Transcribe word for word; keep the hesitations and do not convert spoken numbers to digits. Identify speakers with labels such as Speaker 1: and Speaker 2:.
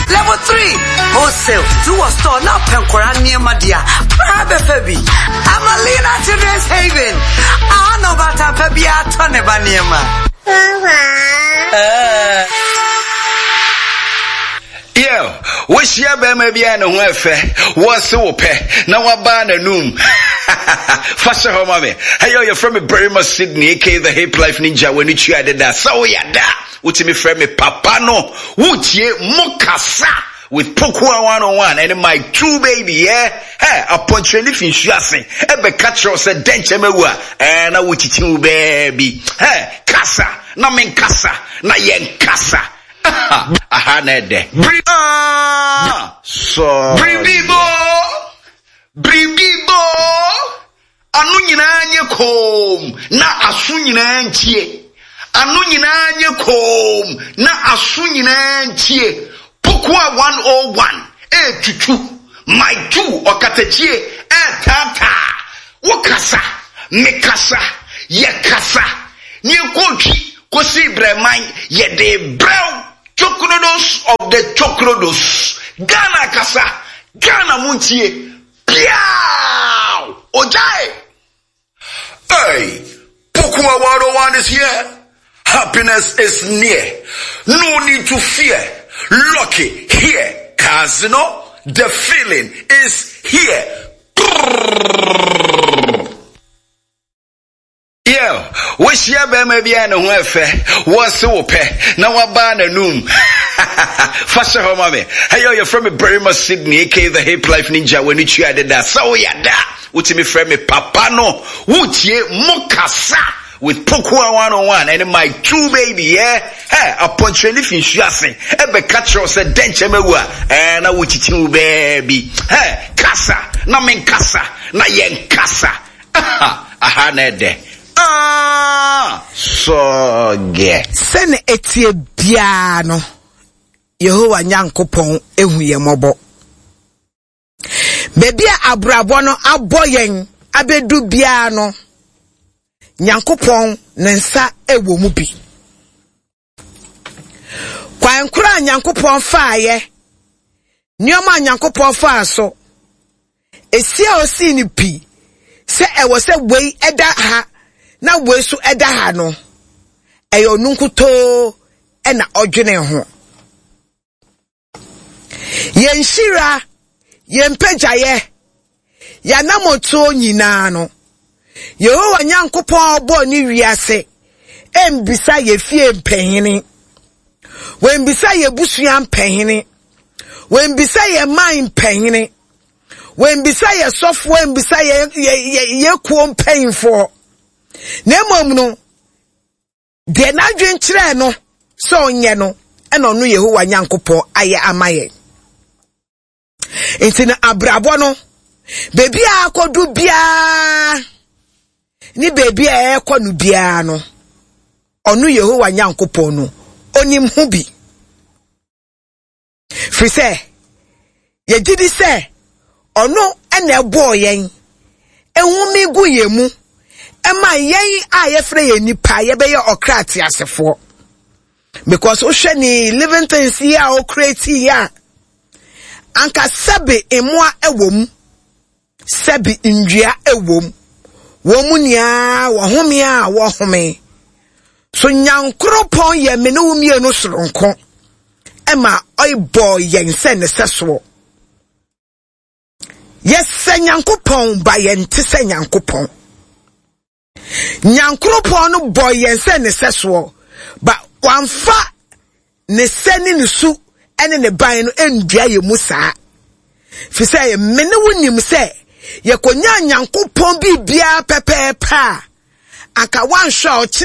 Speaker 1: Level three wholesale. Ti wɔ store na pɛ nkwaraa nneɛma deɛ a, bra bɛfa bi. Amalina Children's Haven. Aha na ɔbaatan pa biara tɔ ne ba nneɛma. Uh.
Speaker 2: Yo, wohyia bɛrima bi a ne ho ɛfɛ, wɔse wo pɛ, na wabaa n'anum. Fa hyɛ hɔ ma me. Hey, yɛfrɛ me Barima Sydney, aka the Hip Life Ninja, w'ani tua deda. Sɛ woyɛ da, wotumi frɛ me papa no. Wotie mo kasa with Pokua one oh one and my two baby, yeah? Hey, apɔnkyerɛni fi nsu ase, ɛbɛka kyerɛ wo sɛ dɛnkyɛm awu a, ɛɛ na wokyikyi wo baabi. Hey, kasa, na menkasa, na yɛnkasa. Aha, aha na ɛdɛ. Bri ah, so. Biribi bo, biribi bo. Ano nyinaa nye koom, na aso nyinaa ntie. Ano nyinaa nye koom, na aso nyinaa ntie. Pokua one oh one etutu, my two ɔkatakyie ɛɛtaataa. Wokasa, mekasa, yɛkasa. Ne yɛkɔtwi kɔsi brɛman yɛde brɛw. Chokrodos of the Chokrodos. Ghana kasa, Ghana muntie. Piao! Ojae! Hey, Pokua one oh one is here. Happiness is near. No need to fear. Lucky here. Casino, the feeling is here. Yo, wohyia bɛrima bi a ne ho ɛfɛ, wɔse wo pɛ, na wabaa n'anum. Fa hyɛ hɔ ma me. Hey, yɛfrɛ me Barima Sydney, aka the Hip Life Ninja, w'ani tua deda. Sɛ woyɛ da, wotumi frɛ me papa no. Wotie mo kasa with Pokua one oh one and my two baby, yeah? Hey, apɔnkyerɛni fi nsu ase, ɛbɛka kyerɛ wo sɛ dɛnkyɛm awu a, ɛɛ na wokyikyi wo baabi. Hey, kasa, na menkasa, na yɛnkasa. Aha, aha na ɛdɛ. Ah, sɔgɛ.
Speaker 3: Sɛne ɛtie biara no, Yehowa Nyankopɔn ehu yɛn mmɔbɔ. Baabi a abrabɔ no abɔ yɛn abɛdu biara no, Nyankopɔn ne nsa ɛwɔ mu bi. Kwan koro a Nyankopɔn faayɛ, nneɛma a Nyankopɔn faa so, esi a osii no pi sɛ ɛwɔ sɛ wei ɛda ha na wei so ɛda ha no, ɛyɛ ɔno nkutoo ɛna ɔdwene ho. Yɛn hyira, yɛn mpagyaeɛ, yɛn anammɔntuo nyinaa no, Yehowa Nyankopɔn a ɔbɔɔ ne wiase ɛmbisa yɛ fie mpanyini, wɔmbisa yɛ busua mpanyini, wɔmbisa yɛ man mpanyini, wɔmbisa yɛ sɔfoɔ, mbisa yɛ yɛ yɛ yɛ kuo mpanyinfoɔ. Na mmom no, deɛ n'adwen kyerɛɛ no sɛ ɔnyɛ no, ɛna ɔno Yehowa Nyankopɔn ayɛ ama yɛn. Nti no, abrabɔ no, beebi a akɔdu biara ne beebi a ɛrekɔ no biara no, ɔno Yehowa Nyankopɔn no onim ho bi, firi sɛ yɛgye di sɛ ɔno ɛna ɛbɔɔ yɛn, ehumi gu yɛn mu, ɛma yɛn a yɛfrɛ yɛn nipa yɛbɛyɛ ɔkra ateasefoɔ, because wohwɛ ne living things yi a ɔcreate yi a, anka sɛbe mmoa ɛwɔ mu, sɛbe ndua ɛwɔ mu, wɔn mu nyinaa wɔhome a wɔhome so. Nyankoropɔn yɛ me ne wo mmienu soronko, ɛma ɔbɔ yɛn sɛ ne sɛ soɔ. Yɛsɛ Nyankopɔn ba, yɛn te sɛ Nyankopɔn. Nyankoropɔn no bɔ yɛn sɛ ne sɛ soɔ ba, wamfa ne sɛ ne ne su ɛne ne ban no ndua yɛn mu saa, fi sɛ me ne wo nim sɛ yɛkɔnya Nyankopɔn biribiara pɛpɛɛpɛ a, anka wanhwɛ a ɔkyena.